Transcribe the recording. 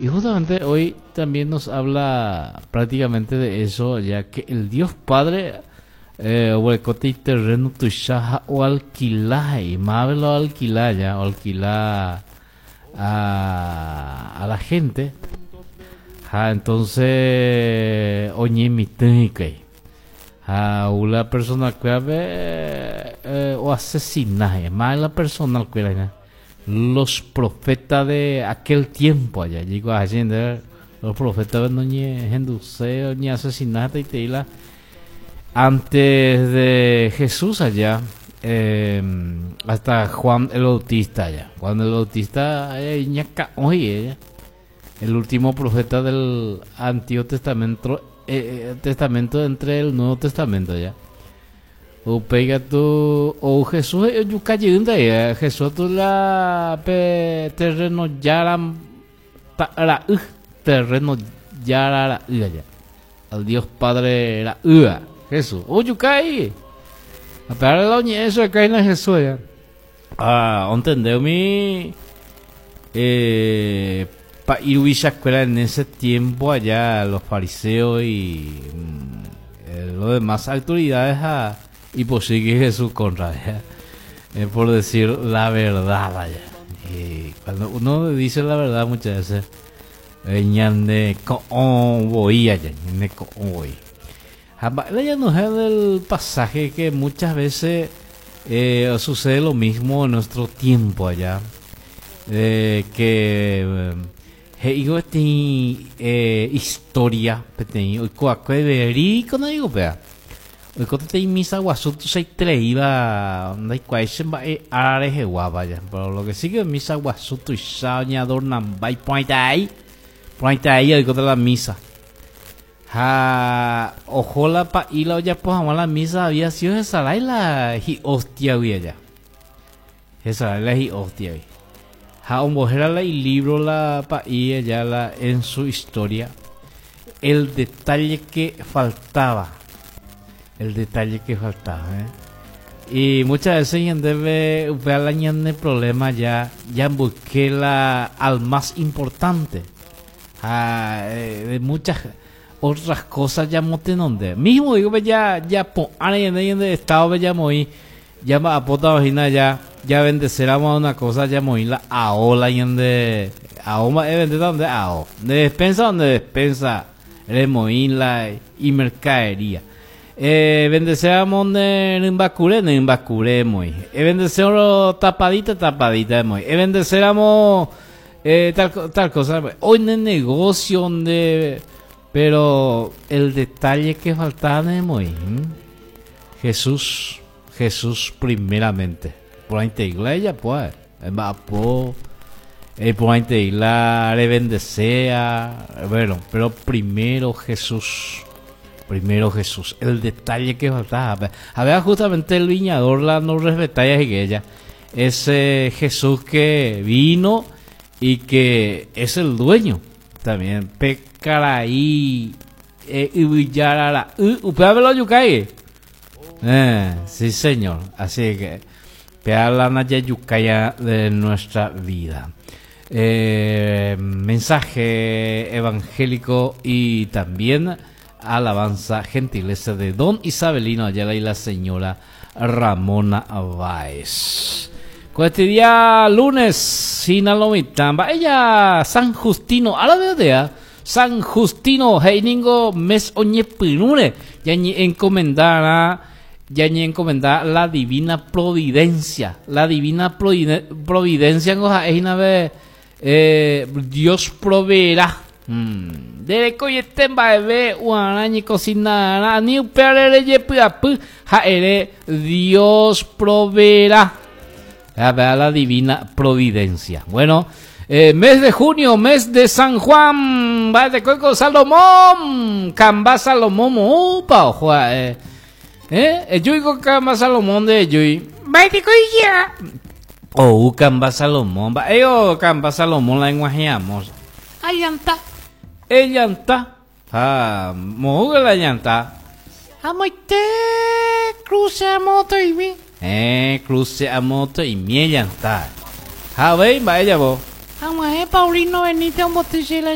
Y justamente hoy también nos habla prácticamente de eso, ya que el Dios Padre eh, oguerekóta iterreno tuicha ha oalkila he'i, máve la oalkila ya, oalkila a, a la gente. Ha entonces oñemitỹ hikuái. Ha ou la persona kuérape eh, oasesina he'i, máve la personal kuéra hína. Los profetas de aquel tiempo aja, jaikuaa che ndéve, los profetas noñehenduse oñeasesina hetaiterei la antes de Jesús aja, eh, hasta Juan el Bautista aja. Juan el Bautista iñakã'o he'i ella, el último profeta del Antiguo Testamento, eh, Testamento entre el Nuevo Testamento aja. Upéi katu ou Jesús he'i ojuka jeýnte ae. Jesús katu la pe terreno jára ra'y, terreno jára ra'y aja. Al Dios Padre ra'ýva, Jesús. Ojuka he'i. Ha pe ára la oñe'ẽ chupe hína Jesús aja. Ha ontende umi eh, pa'i ruvichakuéra en ese tiempo allá, los fariseos y mm, los demás autoridades ha ipochy que Jesús contra allá, eh, por decir la verdad allá. Y cuando uno dice la verdad muchas veces, eh, ñande ko'õ voi allá, ñande ko'õ voi. Ha mba'e la ñanohẽ del pasaje que muchas veces eh, sucede lo mismo en nuestro tiempo allá, eh, que eh, he'ívo peteĩ eh, historia, peteĩ oikoakue verídico no digo péva, oiko peteĩ misa guasu tuichaitereíva ndaikuaái che mba'e ára reheguáva ya, pero lo que sí que misa guasu tuicha oñeadornamba iporãiterei, porãiterei oikóta la misa. Ha oho la pa'i la ojapo hag̃ua la misa había sido hesarái la hi'óstiagui aja. Hesarái la hi'óstiagui. Ha ombohéra la ilibro la pa'i aja la en su historia El detalle que faltaba. El detalle que faltaba, eh. Y muchas veces ñandéve upéva la ñane problema ya jamboyke la al más importante. Ha de muchas otras cosas jamotenonde. Mismo digo pe ja japo'ãre ñande ñande estado pe jamoĩ jamba'apótava hína ja javendeseramo una cosa jamoĩ la ao la ñande ao mba'e vendéta nde ao. Nde despensa nde despensa remoĩ la imercadería. Evendeséramo ne rymba kure, ne rymba kure emoĩ. Evendesérõ tapadita, tapadita emoĩ. Evendeséramo Eh, tal, tal cosa. Hoy en el negocio donde. Pero el detalle que faltaba de Jesús, Jesús primeramente. Por ahí te iglesia, pues. Mba'apo, eh, por ahí te la revendesea. Bueno, pero primero Jesús. Primero Jesús. El detalle que faltaba. A ver, justamente el viñador la no respetaba y ella Ese Jesús que vino y que es el dueño también. Pe karai eh, yvyjára ra'y, upévape la ojukái. Eh, sí señor. Así que péa la najajukáia de nuestra vida. Eh, mensaje evangélico y también alabanza gentileza de don Isabelino Ayala y la señora Ramona Báez. Ko este día lunes hína lo mitã mba'éja San Justino árape otea. San Justino he'i ningo mes oñepyrũre ñañe'enkomendarã ñañe'enkomenda la divina providencia. La divina providencia ngo ha'e hína pe Eh, Dios proveerá. Mm. Nderekoiete mba'eve uarã ñekosinarã, ani upévare rejepy'apy ha ere Dios proveerá. Vea la divina providencia. Bueno, eh, mes de junio, mes de San Juan, mba'etekóiko Salomón, kamba Salomón moõpa oho ha'e. Eh, ejúiko kamba Salomón nde ejúi. Mba'etekói Ou kamba Salomón, mba'e o kamba Salomón la eg̃uahẽ amo. Allanta, ellanta, ha moõgue la ellanta. Amoite cruce amotoimi. Héẽ, cruce amotoimi ellanta. Ha avei mba'e javo. Ag̃uahẽ Paulino Benítez omboty che la.